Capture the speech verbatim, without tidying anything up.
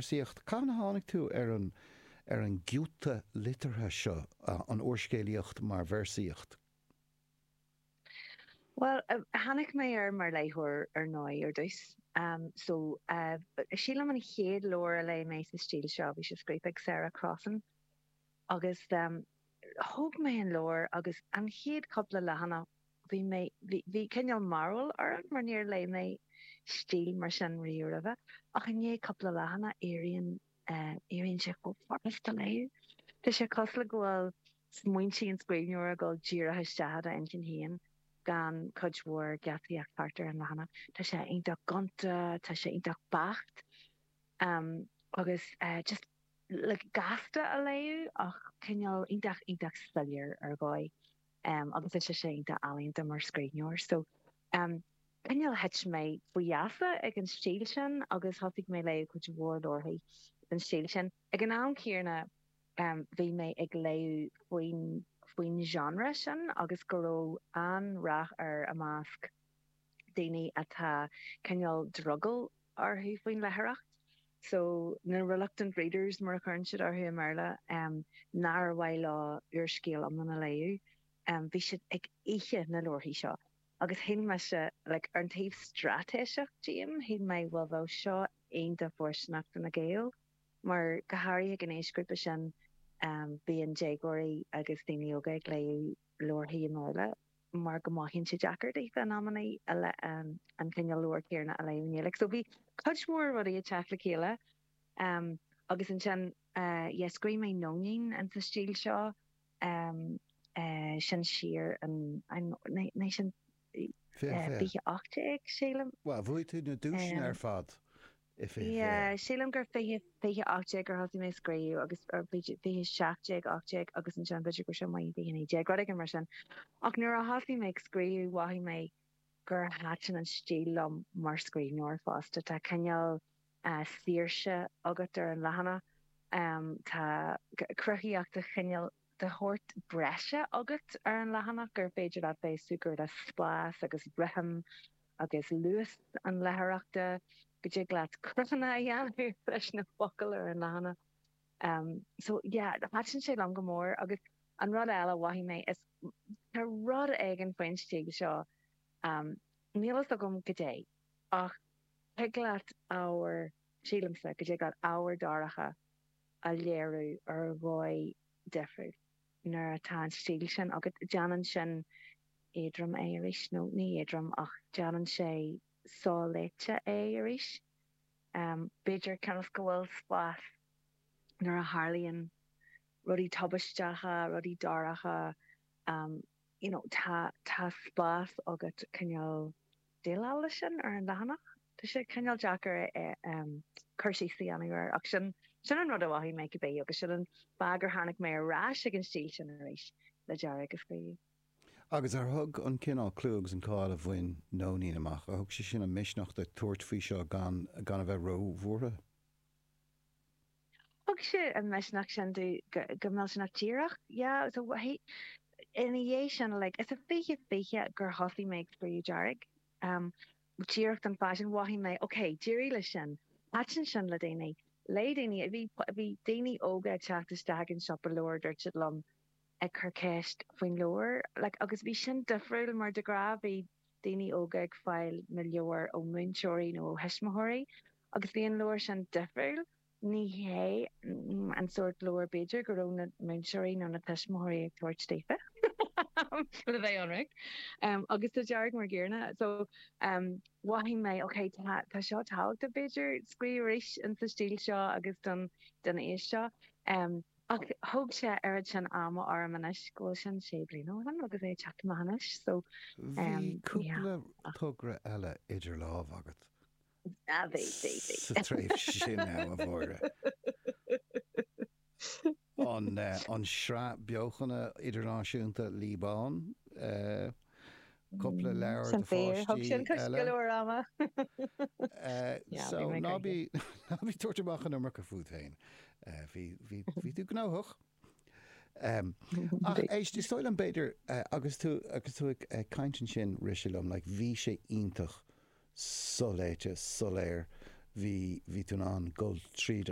véarsaíocht. Cathain a tháinig tú ar an ar an giota liteartha seo, an úrscéalaíocht mar véarsaíocht? Bhuel, tháinig mé air mar léitheoir ar ndóigh ar dtús. So, sílim an chéad leabhar a léigh mé sa stíl seo, bhí sé scríofa ag Sarah Crossan agus thóg mé an leabhar agus an chéad cúpla leathanach bhí mé, bhí, bhí cineál mearbhall orm mar níor léigh mé stíl mar sin riamh roimhe. Ach i ndiaidh cúpla leathanach éiríonn, éiríonn sé chomh furasta léamh. Tá sé cosúil le go bhfuil smaointe an scríbhneora ag dul díreach isteach i d'intinn féin gan cuid mhór geataíocht thart ar an leathanach. Tá sé iontach gonta, tá sé iontach beacht agus just like gasta a léamh ach cineál iontach iontach soiléir ar dhóigh agus tá sé iontach ealaíonta mar scríbhneoir. So cineál thit mé faoi gheasa ag an stíl sin agus thosaigh mé léamh cuid mhór leabharthaí den stíl sin. Ag an am céanna bhí mé ag léamh faoin faoin genre sin agus go raibh an-rath air i measc daoine atá cineál drogall orthu faoin léitheoireacht. So na reluctant readers mar a chuireann siad orthu i mBéarla, nár mhaith leo úrscéal iomlán a léamh, bhí siad ag ithe na leabharthaí seo. Agus shíl mise, like, ar an taobh straitéiseach díom, shíl mé, bhuel bheadh seo iontach fóirsteanach do na Gaeil. Mar go háirithe ag an aoisghrúpa sin, bíonn déagóirí agus daoine óga ag léamh leabharthaí i mBéarla mar go mothaíonn sé deacair daofa in amannaí an cineál leabhar céanna a léamh i nGaeilge. So bhí cuid mhór rudaí ag teacht le chéile agus ansin yeah scríobh mé Nóinín in sa stíl seo sin siar in sin fiche ocht déag sílim. Bhuel, bhuaigh tú na duaiseanna ar fad i fiche fiche. Yeah, sílim gur fiche, fiche ocht déag gur thosaigh mé ag scríobh agus, or fiche seacht déag, ocht déag agus ansin b'fhéidir go raibh sé amuigh i fiche naoi déag, rud éigin mar sin. Ach nuair a thosaigh mé ag scríobh mhothaigh mé gur thaitin an stíl liom mar scríbhneoir fosta. Tá cineál saoirse agat ar an leathanach, tá cruthaíocht de chineál de shórt breise agat ar an leathanach gur féidir leat bheith ag súgradh le spás agus rithim agus luas an léitheoireachta, go dtig leat cruthanna a dhéanamh leis na focail ar an leathanach. So yeah, thaitin sé liom go mór agus an rud eile a mhothaigh mé is tá rud éigin faoin stíl seo, níl fhios agam goidé, ach thig leat ábhar, sílimse, go dtig leat ábhar dorcha a léiriú ar dhóigh difriúil nuair atá an stíl sin agat. Déanann sin éadrom é arís, nó ní éadrom ach déanann sé soléite é arís. B'fhéidir cionn is go bhfuil spás nuair a tharlaíonn rudaí tubaisteacha, rudaí dorcha, you know, tá, tá spás agat cineál déileáil leis sin ar an leathanach. Tá sé cineál deacair cur síos a dhéanamh air ach sin, sin an rud a mhothaigh mé cibé agus sin an fáth gur tháinig mé ar ais ag an stíl sin arís le Dearg a scríobh. Agus ar thug an cineál clú agus an cáil a bhain Nóinín amach, ar thug sé sin an misneach duit tabhairt faoi seo gan, gan a bheith ró-bhuartha? Thug sé an misneach sin domh go millteanach díreach, yeah, so ina dhiaidh sin, like, is i fiche fiche gur thosaigh mé ag scríobh Dearg, um, díreach don fáth sin, mhothaigh mé, ok, d'éirigh leis sin, thaitin sin le daoine, léigh daoine, bhí, bhí daoine óga ag teacht isteach ag an siopa leabhar, dúirt siad liom, ag cur ceist faoin leabhar, like, agus bhí sin difriúil mar de ghnáth bhí daoine óga ag fáil na leabhar ó mhúinteoirí nó ó thuismitheoirí agus bhí an leabhar sin difriúil. Ní hé an sórt leabhar b'fhéidir go raibh na múinteoirí nó na tuismitheoirí ag tabhairt daofa le bheith ionraic. Agus tá Dearg mar gcéanna. So mhothaigh mé ok tá tá seo tábhachtach b'fhéidir scríobh arís in sa stíl seo agus don don aois seo. Ach thóg sé oiread sin ama orm anois go bhfuil sin sé bliana ó shin agus é ag teacht amach anois so Bhí yeah. cúpla togra eile idir lámha agat. Ah, bhí, bhí, bhí. Sa tréimhse sin a Mháire. An an sraith beochana idirnáisiúnta Liobán, cúpla leabhar Sin do fíor, thug pháistí sin cuid go eile. leor ama. Yeah, So bhí mé ná gnoitheach. bí ná bí tabhairt amach an iomarca fút féin. Bhí bhí bhí tú gnóthach. Ach Bhí. éist, is dóigh liom b'fhéidir agus tú agus tú ag caint ansin rith sé liom, like bhí sé iontach soléite, soiléir, bhí bhí tú in ann dul tríd